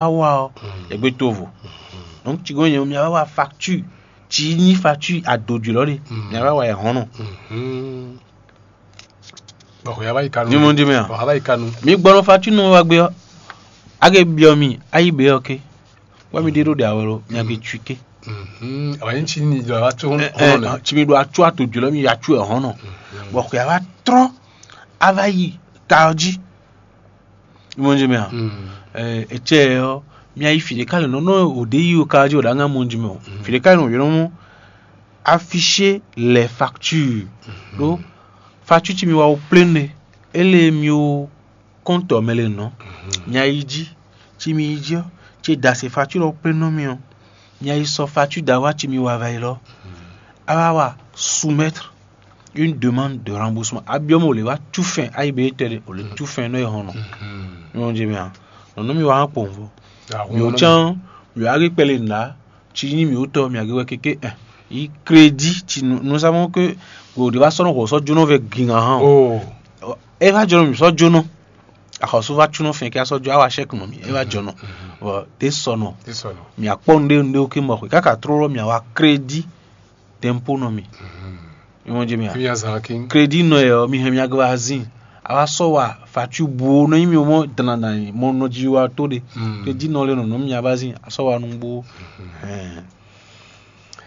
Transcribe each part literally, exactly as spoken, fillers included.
wá wa ɔ́, yɛgbé tovo. Donc ci gɔn nyɛ mi wá wa facture, ci nyí facture adodjwǐ lɔ ɖe, mi wá wa yɛ hɔn nɔ. Bɔn xɔ yaba yi kanu. Ní mo di mɛ a? Bɔn xaba yi kanu. Mi gbɔ nɔ facture nɔ wa gbé ɔ́, a ke biɔ mi ayi bɛ ɔ́ ke, wɛ mi ɖe ɖo ɖe awɛ lo, mi a ke tui ke. Awɛ ní tsi ní ɖɔ a tso hɔn nɛ. Ci mi ɖo atsɔ adodjwǐ lɔ mi ya tsɔ ɛ hɔn nɔ. Bɔn xɔ yaba trɔ a va yi ta ɔ́ jí. Ní mo di mɛ a? Etsɛ ɔ́, mi a yi fi ɖeka lɛ nɔ nɔ o ɖe yi o ka jí o ɖa ŋa mo di mɛ o. Fi ɖeka lɛ nɔ yɔnɔ mɔ afficher les factures. Ɖó facture ci mi wa o plein ɖe, ele mi o compte mɛ le nɔ. Mi a yi jí, ci mi yi jí ɔ́, ci da se facture ɔ́ plein nɔ mi ɔ́, mi a yi sɔ facture da wa ci mi wa va yi lɔ, a va wa soumettre une demande de remboursement. A biɔ mɔ o le wa tu fɛn ayi be tɛ de, o le tu fɛn nɔ e hɔn nɔ. Nyɔn je mi a, nɔ nɔ mi wa hã kpɔn vo. Mi o can, mi a ge kpɛlɛ nda, ci nyi mi o tɔ mi a ge wɛ keke ɛ yi crédit ci nous savons que o de va sɔnɔ xɔ sɔ jónɔ vɛ gin ahan. E va jɔnɔ mi sɔ jónɔ, axɔsú va cúnɔ fɛn kí a sɔ jó awa chèque nɔ mi, e va jɔnɔ. Vɔ de sɔnɔ, mi akpɔ nɖe nɖe o ke mɔ xwe kaka tró lɔ mi awa crédit d'impôt nɔ mi. Mi mɔ jɛ mi a? Fi azan kin. Crédit nɔ yɛ ɔ mi hɛn mi agba azin, a wa sɔ wa facture bu o nɔ nyi mi o mɔ dana dana mɔ nɔ ji wa to de. Crédit nɔ le nɔ nɔ mi aba azin a sɔ wa nu bu.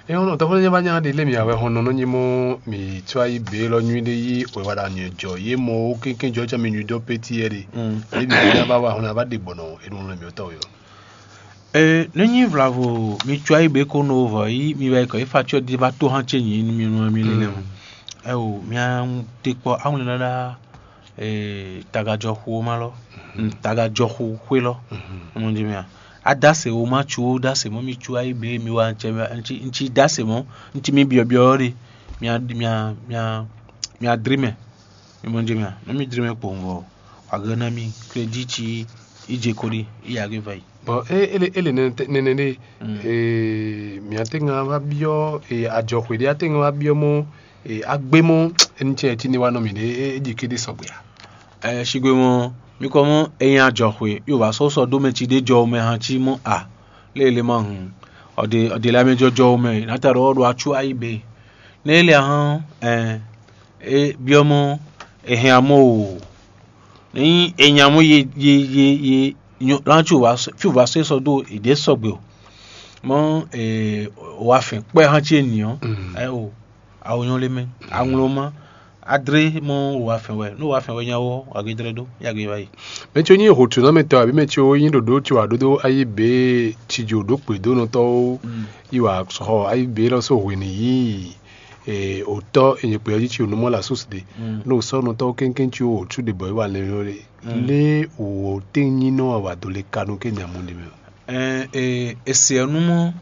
Eye ɔnɔ tɔfɔ nyɛ va nya ɖe lé mi awɛ hɔn nɔ nyi mɔ mi tsɔ ayi be lɔ nyui ɖe yi wɛ wa ɖa nyɛ jɔ ye mɔ wo kéké jɔ tsɔ mi nyui dɔ péti yɛ ɖe. Lé mi nya va wa hɔn ava ɖe gbɔnɔ e ɖo nɔ mi tɔ yɔ. Ee, ne nyi vlavo mi tsɔ ayi be ko nɔ vɔ yi mi wɛ kɔ yi facture di va to hàn tse nyi mi nɔ mi lé nɛ. Ɛwò mia te kpɔ awlɛn nana tagajɔxu ma lɔ, tagajɔxu xwé lɔ. Mo di mia, adase wo ma tsu wo dase mɔ mi tsu ayi be mi wa ntse ntsi dase mɔ ntsi mi biɔ biɔ ɖe mia mia mia mia dri mɛ. Mi mo di mia, ne mi dri mɛ kpowun vɔ, wagɛ na mi crédit ci idze ko ɖi iya ge va yi. Bɔn e ele ele nɛnɛ ɖe ee mia te ŋa va biɔ ee adzɔxwe ɖe a te ŋa va biɔ mɔ ee agbe mɔ eni cɛ ti ne wa nɔ mi ɖe e dzi ke ɖe sɔgbe a. Ɛ sigbe mɔ mi kɔ mɔ eyin adzɔxwe yo va sɔ sɔ do mɛ ci ɖe jɔ mɛ hã ci mɔ a lé ele ma hun ɔde ɔde la mɛ jɔjɔ mɛ nata ɖɔ ɔɖo atsu ayi be ne ele ahɔn ɛ e biɔ mɔ ehɛn amɔ o ne nyi enya mɔ ye ye ye ye nyo lan ci o va sɔ fi o va sɔ sɔ do ede sɔgbe o mɔ ee o wa fɛn kpɛ hã ci eniɔ ɛ o awo nyɔ le mɛ aŋlo ma adre mɔ o wa fɛn wɛ ne o wa fɛn wɛ nya wɔ agedre do yage va yi. Mɛ tso nyi hotsunɔmɛtɔ abi mɛ tso nyi ɖoɖo tso aɖoɖo ayi be tsidzo ɖo kpedonɔtɔwo yi wa xɔ ayi be lɔ so hwenu yi otɔ enyekpe ɔ́ jí tsi onú mɔ la sósi ɖe. Nú sɔ́nɔtɔwo kéŋkéŋ tsi wò tsú ɖe bɔ é wa lɛ yɔ ɖe lé wò tɛ́n nyí nɔ wa do le kanu ké nya mɔ ɖe mɛ. Ese ɔ́ nú mɔ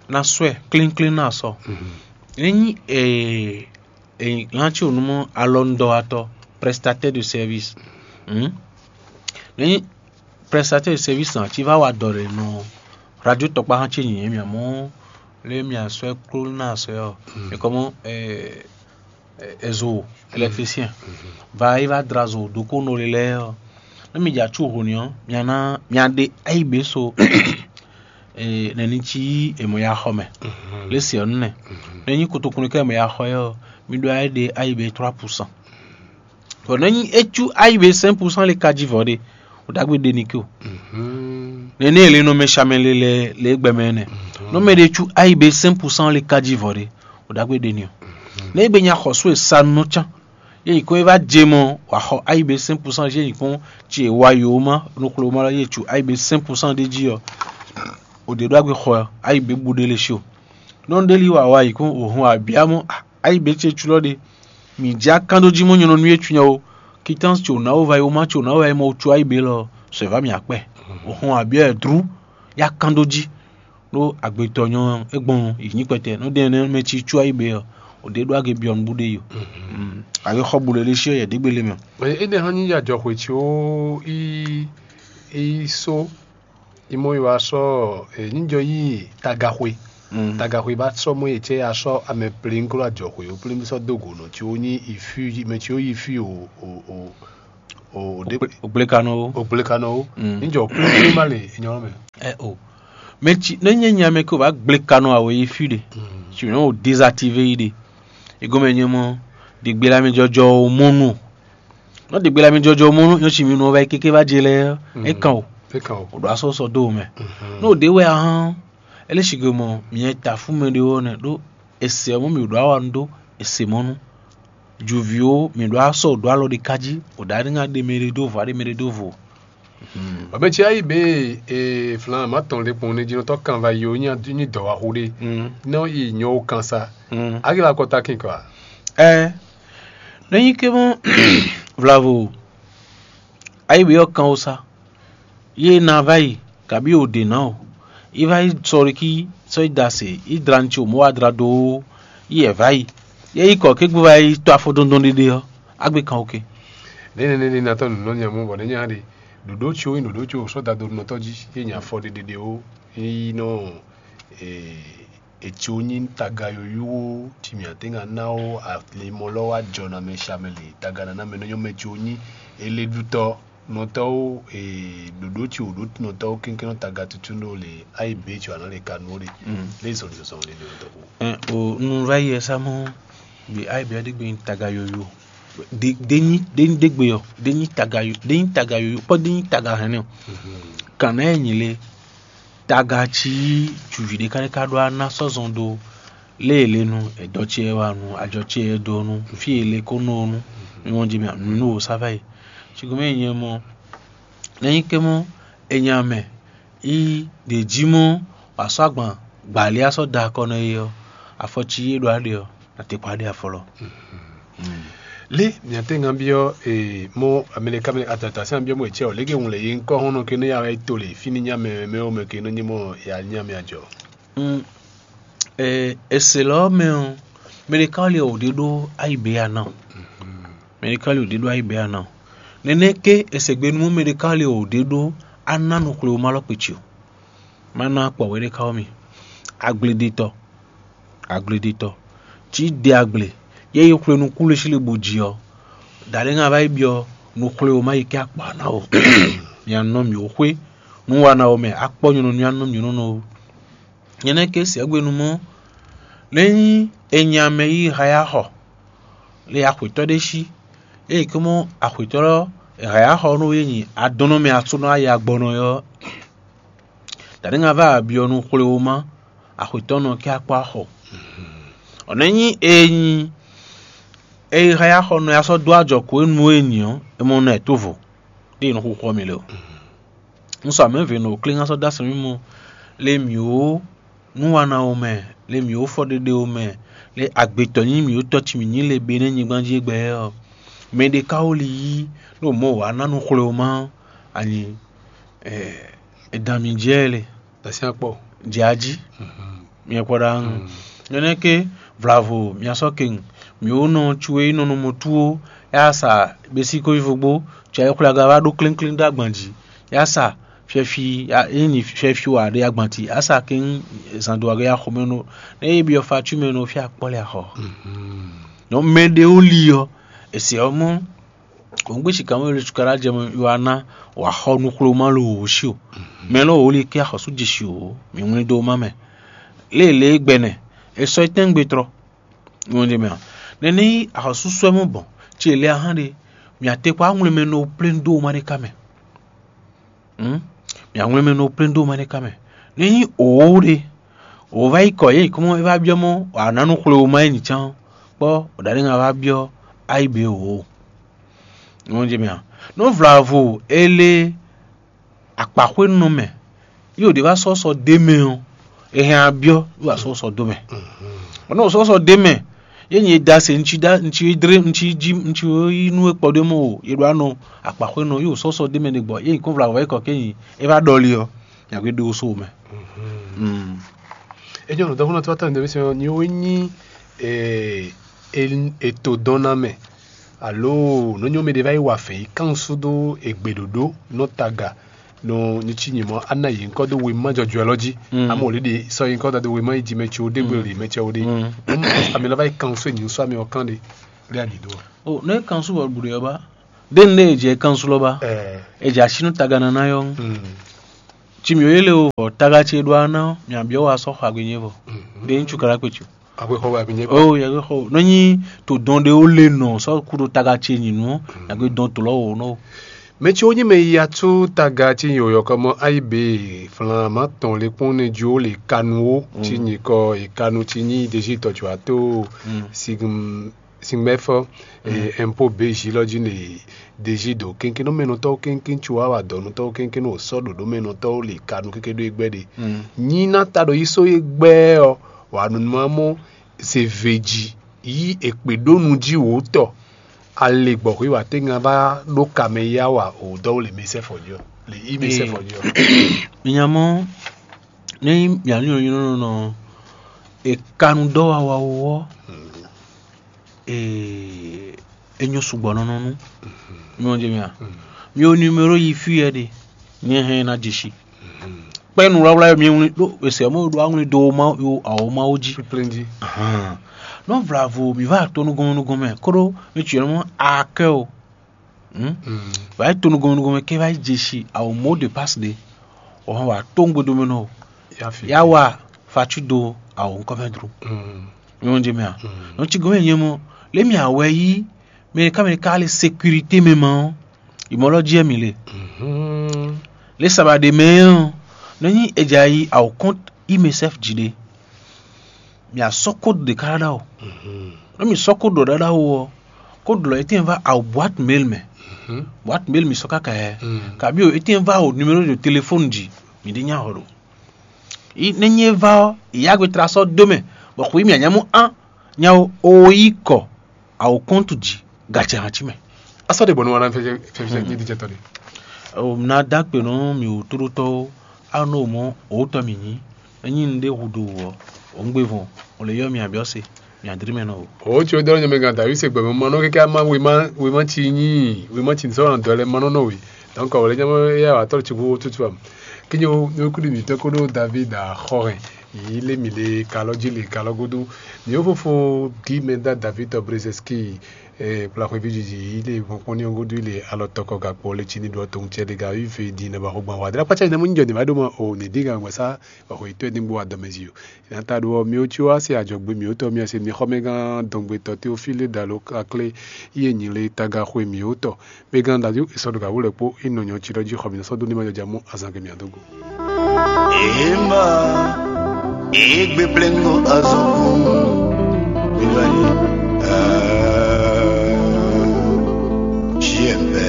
ná sɔ́ ɛ klínkín ná sɔ. Ényí lán tsi onú mɔ alɔnudɔwatɔ, prestataire de service. Ényí prestataire de service ná tsi va wa dɔ ɖe nɔ radio tɔkpa hã tsi nyǐnyɛ́ mia mɔ lé mia sɔ́ ɛ kló ná sɔ́ ɛ ɔ. Ekɔmɔ ezo électricien va yi va dra zo ɖokpónɔ lé lɛ́ɛ ɔ. Ne mi dza tsu honi ɔ, mia ná mia ɖe ayi be so nɛni tsi yi emɔ ya xɔ mɛ. Lesi ɔ nɛ. Ne nyi kotokunu kɛ emɔ ya xɔ yɛ ɔ, mi ɖo ayi ɖe ayi be trois pour cent. Bɔ ne nyi etsu ayi be cinq pour cent le ka ji vɔ ɖe, o dagbe ɖe ni ke o. Nene ele nɔ mɛ shamɛ le le le gbɛmɛ nɛ. Nɔ mɛ ɖe tsu ayi be cinq pour cent le ka ji vɔ ɖe, o dagbe ɖe ni o. Ne egbe nya xɔsu e sa nɔ can ye yi ko e va dze mɔ wà xɔ ayi be cinq pour cent ye yi kpɔn tsi e wa yo ma nuklo ma ye tsu ayi be cinq pour cent ɖe ji ɔ, o ɖe ɖo agbe xɔ ayi be bu ɖe le si o. Nɔ ɖe li wa wa yi kpɔn o hun abia mɔ ayi be tse tsu lɔ ɖe. Mi dza kan ɖo ji mɔ nyɔnɔ nu ye tsu nya o. Kitans tso na o va yi o ma tso na o va yi mɔ tsu ayi be lɔ sɔ va mi akpɛ. O hun abia dru ya kan ɖo ji. Ɖó agbetɔ nyɔ egbɔn yi nyi kpɛtɛ nɔ ɖe nɛ mɛ tsi tsu ayi be ɔ, o ɖe ɖo age biɔ nbu ɖe yo. Age xɔ bu le ɖe si yɛ ɖe gbele mɛ. Ene hã nyi ya jɔ xwe tsi o i i so i mɔ yi wa sɔ e nyi jɔ yi tagaxwe. Tagaxwe ba sɔ mɔ yi tsɛ ya sɔ amɛ plin klo ajɔ xwe o plin sɔ do go nɔ tsi o nyi ifi mɛ tsi o yi fi o o o O ɖe Ògblékanɔ ó. Ògblékanɔ ó. Mm. Níjọ kúlúkúlú má lè nyɔrɔ mɛ. Ɛ o. Mɛ tsi ne nyɛ nya mɛ ko va gblé kanɔ awo yi fí ɖe. Tsi nɔ o désactivé yi ɖe. Egɔmɛ nyɛ mɔ ɖigbélamɛ jɔjɔ o mɔnu. Nɔ ɖigbélamɛ jɔjɔ o mɔnu nyɔ tsi mi nɔ va yi kéké va dze lɛ. E kan o. E kan o. O ɖo asɔ sɔ do mɛ. N'o ɖe wɛ ahán. Ele sigbe mɔ miɛ ta fún mɛ ɖe wɔ nɛ ɖó ese ɔ́ mɔ mi ɖo awa nu ɖó ese mɔnu. Juvi ó, mi ɖo asɔ ɖo alɔ ɖe kájí, o ɖo aɖe ŋa ɖe mɛ ɖe ɖó vo, aɖe mɛ ɖe ɖó vo. Bɔbɛ tsi ayi be e flan ma tɔn le kpɔn ne jinɔtɔ kan va yi o nyi nyi dɔwaxu ɖe. Nɔ yi nyɔ o kan sa. Agi la kɔta kin kɔ. Ɛ ne nyi ke mɔ vlavo ayi be ɔ kan o sa. Ye na va yi kabi o ɖe na o. Yi va yi sɔriki sɔ yi da se yi dra ŋutsi o mɔ wa dra do yi yɛ va yi. Ye yi kɔ ke gbé va yi tɔ afɔ dɔndɔn ɖeɖe ɔ. Agbe kan o ke. Nene nene natɔ nunɔ nya mɔ bɔ ne nya ɖe ɖoɖo tso yi ɖoɖo tso sɔ da do nɔtɔ dzi ye nya fɔ ɖeɖeɖe o yi nɔ e etso nyi taga yoyo ti mi ate ŋa na o alimɔ lɔ wa jɔ na mɛ sha mɛ le taga nana mɛ nɔ nyɔ mɛ tso nyi ele ɖutɔ nɔtɔwo e ɖoɖo tso ɖo nɔtɔwo kéŋkéŋ nɔ taga tutu ɖo le ayi be tso ana le kanu o ɖe le zɔn zɔn le le nɔtɔ ko. O nu va yi ɛ sa mɔ bi ayi be ɔdi gbe taga yoyo de de nyi de nyi degbe yɔ de nyi taga yo de nyi taga yoyo kpɔ de nyi taga hɛn nɛ o. Kan na yɛ nyi le taga tsi cuvi ɖe ka ɖe ka ɖo ana sɔzɔn ɖo lé e le nu edɔ tsi yɛ wa nu ajɔ tsi yɛ ɖo nu fi e le ko nɔ nu mi wɔn dzi mi nu nu wo sa va yi. Tsi gome nyɛ mɔ ne nyi ke mɔ enya mɛ yi ɖe dzi mɔ wà sɔ agban gbali asɔ da akɔ nɔ yi ɔ afɔ tsi yi ɖo aɖe ɔ na te kpa ɖe afɔ lɔ. Le miate ŋa biɔ ee mo amɛlɛka mɛ adaptation biɔ mo etsɛ o lege ŋun le yi ŋkɔ hɔn nɔ ke ne ya to le fini nya mɛ mɛ o mɛ ke ne nyi mo ya nya mɛ ajɔ. Ɛ ese lɔ mɛ ɔ mɛɖeka li o ɖe ɖo ayi be ya na o mɛɖeka li o ɖe ɖo ayi be ya na o nɛnɛ ke ese gbe nu mɛɖeka li o ɖe ɖo ana nu xwle o ma lɔ kpe tsi o ma na kpɔ wɛ ɖeka o mi agbledetɔ agbledetɔ tsi de agble ye yi xwle nu kule si le bo dzi ɔ daɖe ŋa va yi biɔ nu xwle o ma yi ke akpa na o mi anɔ mi o xwe nu wa na o mɛ akpɔ nyɔnɔ nu anɔ mi nɔ nɔ o nyɛ nɛ ke sɛgbe nu mɔ ne nyi enya mɛ yi ha ya xɔ le axwetɔ ɖe si eye ke mɔ axwetɔ lɔ ha ya xɔ nɔ ye nyi adɔnɔ mɛ atsɔ nɔ ayi agbɔnɔ yɔ daɖe ŋa va abiɔ nu xwle o ma axwetɔ nɔ ke akpɔ axɔ ɔ ne nyi e nyi eye ha ya xɔ nɔ ya sɔ do ajɔ ko enu e nyi ɔ e mɔ nɔ ɛ to vo ɖe nɔ xuxɔ mi le o n sɔ amɛ ve nɔ klé ŋa sɔ da sɛn mi mɔ le mi o nu wa na o mɛ le mi o fɔ ɖeɖe o mɛ le agbetɔ nyi mi o tɔ ci mi nyi le be ne nyigban jí gbɛ ɔ mɛ ɖe ka o li yí ɖo mɔ wa na nu xwle o ma anyi ɛ edan mi jɛ le Dasi akpɔ. Jɛ ají miɛ kpɔ ɖa ŋu nyɔnɛ ke vlavo mia sɔ ke ŋu mi wo nɔ tsu e nɔ nɔ mɔ tuwo ya sa besi ko ivo gbo tsu ayi xwla ga va ɖo klénklen ɖo agban jí ya sa fiɛfi ya e nyi fiɛfi wa ɖe agban ti ya sa ke ŋu zan do age ya xɔ mɛ nɔ ne yi biɔ fa tsu mɛ nɔ fi akpɔ le axɔ nɔ mɛ ɖe wo li ɔ esi ɔ mɔ Kɔngbe sikamɔ le cukaɖa jɛ mɛ yɔ ana wà xɔ nuxlomá lo wò si o. Mɛ lɔ wò li kí axɔsú jesi o, mi ŋlɛ do ma mɛ. Lé lé gbɛnɛ, e sɔ etɛngbe trɔ. Ŋlɛ de mɛ a. Nɛnɛ yi axɔsú sɔɛ mɔ bɔn, tsi le ahan de, mi ate kɔ aŋlɛ mɛ no plɛn do ma de ka mɛ. Hmm? Mi aŋlɛ mɛ no plɛn do ma de ka mɛ. Ne yi o de, o va yi kɔ ye kɔmɔ e va biɔ mɔ, wà nanu xlomá yi ni tsan, kpɔ o ɖaɖe ŋa va biɔ ayi be o. Nɔ jɛ mɛ a nɔ vlavo ele akpaxwénɔ mɛ yi o ɖe va sɔsɔ de mɛ o e hɛn abiɔ yi wa sɔsɔ do mɛ o nɔ sɔsɔ de mɛ ye nyi da se ŋtsi da ŋtsi dre ŋtsi dzi ŋtsi yi nu ekpɔ ɖe mɔ o ye ɖo anɔ akpaxwénɔ yi o sɔsɔ de mɛ ɖe gbɔ ye nyi kɔn vlavo yi kɔ ke nyi e va ɖɔli ɔ yàgbé ɖo so mɛ. Enyo no dɔfuna tó atɔ ndemi sɛ ni o nyi eto dɔn na mɛ alo nonyo mi ɖe va yi wa fɛ yi kan sudo egbe ɖoɖo nɔ taga nɔ nyitsi nyimɔ ana yi ŋkɔ do wema jɔjɔɛ lɔ dzi ame wòle ɖe sɔ yi ŋkɔ da do wema yi dzi mɛ tsi wo ɖe gbe li mɛ tsi wo ɖe ami lɔ va yi kan so nyi so ami ɔ kan ɖe ɖe ali do. O ne kan so wɔ bu ɖe ɔba Ɖé un ɖe e jɛ kansu lɔ ba. Ɛ, E jɛ así nú taganana yɔ ŋu. Mm. Ci mǐ yě lé o vɔ taga ce ɖó aná ɔ́, mǐ abyɔ́ wa sɔ́ xɔ agbe nyɛ vɔ. Mm. Ɖé ŋutsu ka ɖo akpé ce. Akwexɔ wɛ abǐ nyɛ kpɔ. O yɛ xɔ nɔ nyi to dɔn ɖe o le nɔ sɔ ku ɖo taga ce nyi nu. Yàgbé dɔn to lɔ o nɔ. Mɛ ciwo nyí mɛ yiya tsú taga ci nyi oyɔkɔmɔ ayi be flan ma tɔn le kpɔn ne jo le kanu wo ci nyi kɔ e kanu ci nyi deji tɔ jo ato. Sigm singbɛfɔ. Ɛmpo be ji lɔ ji ne deji ɖo kɛnkɛnnɔmɛnɔtɔwo kɛnkɛn tso wa wa dɔnutɔwo kɛnkɛn o sɔ ɖoɖomɛnɔtɔwo le kanu keke ɖo egbɛ ɖe. Nyi na ta ɖo yi so egbɛ ɔ wa nunuma mɔ se veji yi ekpe ɖó nu ji wò tɔ. Ale gbɔxwí wa tɛngan va ɖo kamɛ ya wa o dɔwó le mɛ sɛfɔ jɔ le yi mɛ sɛfɔ jɔ. Minyamɔ ne mia nyɔ nyɔ nɔ e kanu dɔ wa wa wɔ e e nyɔ sugbɔ nɔ nɔ nu. Mi wɔ jɛ mi a? Mi o numéro yi fi yɛ de. Nyɛ hɛn na jesi. Kpɛ nu wlawla yɔ mi wli ɖo ese mo ɖo awli do ma yo awo ma wo ji. Plendi. Nɔ vlavo mi va to nugɔmɛ nugɔmɛ koɖo mi tsi yɔ mɔ akɛ o. Wá yi to nugɔmɛ nugɔmɛ ke va yi jesi awo mot de passe de. O hɔn wa to ŋgbe do mɛ nɔ o. Ya wa fatu do awo ŋkɔ mɛ dro. Mi wɔ jɛ mi a? Nɔ tsi gɔmɛ nyɛ mɔ le mi awɛ yi mɛ ka mɛ ka le sécurité mɛ ma ɔ. Imɔ lɔ jí mi le. Le saba ɖe mɛ ɔ nɔ nyi edza yi awo compte imesef ji ɖe. Mi a sɔ code ɖe ka ɖaɖa o. Nɔ mi sɔ code ɖɔ ɖaɖa o ɔ code lɔ etɛn va awo boîte mail mɛ. Boîte mail mi sɔ kaka yɛ. Kabi o etɛn va o numéro de téléphone ji mi ɖe nya xɔ ɖo. Ne nyi e va ɔ ya gbe tra sɔ do mɛ bɔ xwi mi a nya mɔ an nya o o yi kɔ awo compte ji gacɛ hàn ci mɛ. Asɔ ɖe bɔ nu wana fɛfɛ fɛfɛ nyi dijɛ tɔ ɖe. O na da kpe nɔ mi wò tóɖótɔwo a nɔ mɔ o tɔ mi nyi enyi nu ɖe hu do wɔ o ŋgbe vɔn o le yɔ mi abiɔ se mi adri mɛ nɔ o. O tso dɔ nyɔmɛ gan davi se gbɛmɛ ma nɔ keke ama wema wema tsi nyi wema tsi sɔ na dɔ lɛ ma nɔ nɔ we. Donc o le nyɔmɛ ya wa tɔ tsi hu tutu am. Kinyo nukuli mi tɔ ko do david a xɔ hɛn yi le mi le kalɔ ji le kalɔ godo. Mi o fofo di mɛ da david tɔ brezeski. Kplaxweví jiji yi lé vɔn kpɔ́n ní ɔ́ gúdo lé alɔ tɔkɔ gakpɔ lé cí ní ɖɔ tɔn cɛ ɖé ga yí ve din nɛ bɔ xɔgbɔn wa dlá kpácá yi nɛ mú ní jɔ ní ma ɖó mɔ o ní dín gan gbɛ́ sá bɔ xɔ yětɔn ní gbó wa dɔmɛ zi o. Ní ata ɖó ɔ́ mi ó cí wá se ajɔgbe mi ó tɔ mi ase mi xɔ mɛ gán dɔngbe tɔ Teofíle dalo aklé yé nyi lé taga xwe mi ó tɔ mɛ gán dadu esɔ ɖo gawú lɛ kpó é nɔ nyɔ cí ɖɔ jí xɔ mi nɔ sɔ́ dó ní ma jɔ ja mú azan gɛ mi adógo. Ema, egbe plengo azɔn. Bilali.